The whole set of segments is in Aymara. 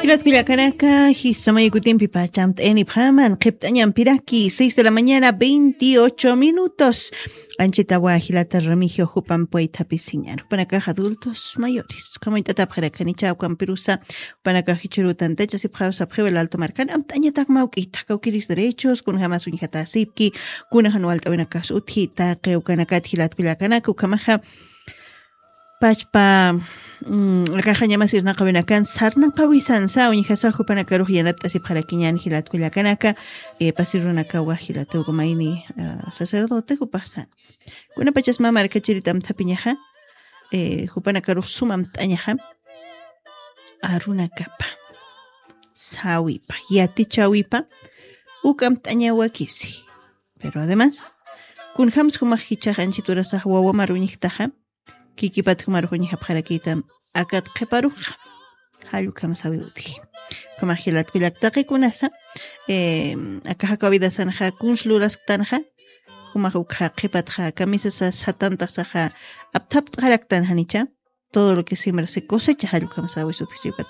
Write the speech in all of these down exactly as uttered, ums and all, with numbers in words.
Jilat kullakanaka, jisamayu kutimpi pachamt'ayanipxaman, qhipt'añampiraki, seis de la mañana, veintiocho minutos. Anchitawa jilata Remigio jupanpwaytapisiñan. Jupanakax adultos mayores. Ukhamañt'atapxarakanicha ukampirusa, jupanakax jichhuru tantachasipxaw sapxiw el alto markan, amt'añatak mawk'ita, kawkiris derechos, kunjamas uñjatasipki, kunajan walt'awinakas utji, taqi ukanakat jilat kullakanaka, ukhamaxa, pachpa, mm, akaxañamas irnaqawinakan sarnaqawisansa, uñjasa jupanakarux yanapt'asipxarakiñan jilat kullakanaka, eh, pasirunakawa jilat ukamayni, ah, sacerdote jupaxsan. Kunapachas mä markachirit amthapiñaxa, eh, jupanakarux sum amt'añaxa, arunakapa, sawipa, yatichawipa, uk amt'añawakisi. Pero además, kunjams jumax jichhax anchit urasax wawamar uñjtaxa, kikipat jumarux uñjapxarakïtam akat qhiparuxa. Jall ukham sawi utji. Ukhamax jilat kullak taqi kunasa, eh, aka jakaw vidasanxa kuns lurasktanxa, jumax ukxa qhipatxa kamisasa satantasaxa apthapt'xaraktan janicha, todo lo que siembra se cosecha, jall ukham sawis utji chiwkat.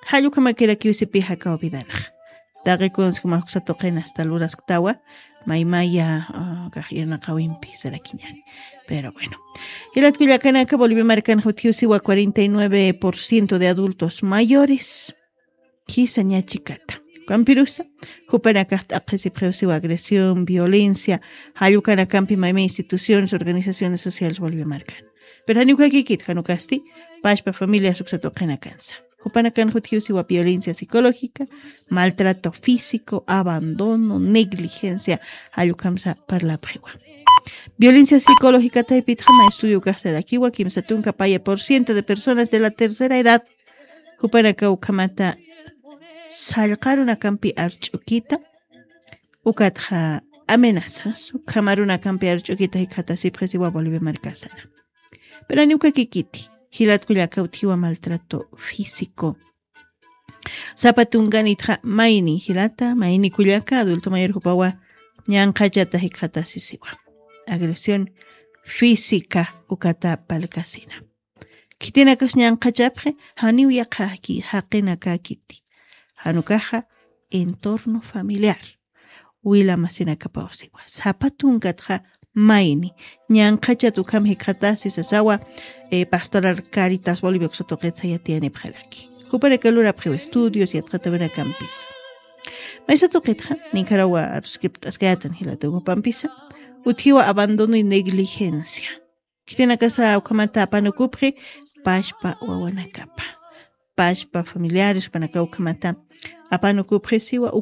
Jall ukhamakirakiw sipi jakaw vidanxa. Taqi kuns jumax uksa tuqin hasta lurasktawa, maymaya, ah, kax irnaqawimpi sarakiñani. Pero bueno. Jilat kullakanaka, Bolivia markan jutjiw siwa cuarenta y nueve por ciento de adultos mayores. Jisa ña chikata. Ukampirusa, jupanakax t'aqhisipxiw siwa agresión, violencia, jall ukanakampi mayma instituciones, organizaciones sociales Bolivia markan. Pero jani ukakikit, jan ukasti, pachpa familias uksa tuqinakansa. Jupanakan jutjiw siwa violencia psicológica, maltrato físico, abandono, negligencia, jall ukhamsa parlapxiwa. Violencia psicológica taypitxa mä estudio ukax sarakiwa, kimsa tunka paya por ciento de personas de la tercera edad, jupanaka ukhamata sallqa arunakampi arch'ukita, ukatxa amenazas, ukham arunakampi arch'ukita jikxatasipxi siwa Bolivia markasana. Pero jani ukakikiti, jilat kullaka utjiwa maltrato físico. Sapa tunkanitxa mayni jilata, mayni kullaka, adulto mayor jupawa ñanqhachata jikxatasisiwa. Agresión física ukata palkasina. Khitinakas ñanqhachapxi, janiw yaqha jaqi-, jaqinakakiti. Jan ukaxa entorno familiar. Wila masinakapaw siwa. Sapa tunkatxa mayni ñanqhachat ukham jikxatasi sasawa, eh, Pastoral Caritas Bolivia uksa tuqit sayatiyanipxaraki. Jupanaka lurapxiw estudios yatxatawinakampis. Maysa tuqitxa, Nicaragua aruskipt'askayatan jilata jupampisa, utjiwa abandono y negligencia. Khitinakasa ukhamata apanukupxi, pachpa wawanakapa. Pachpa familiares, jupanaka ukhamata apanukupxi siwa,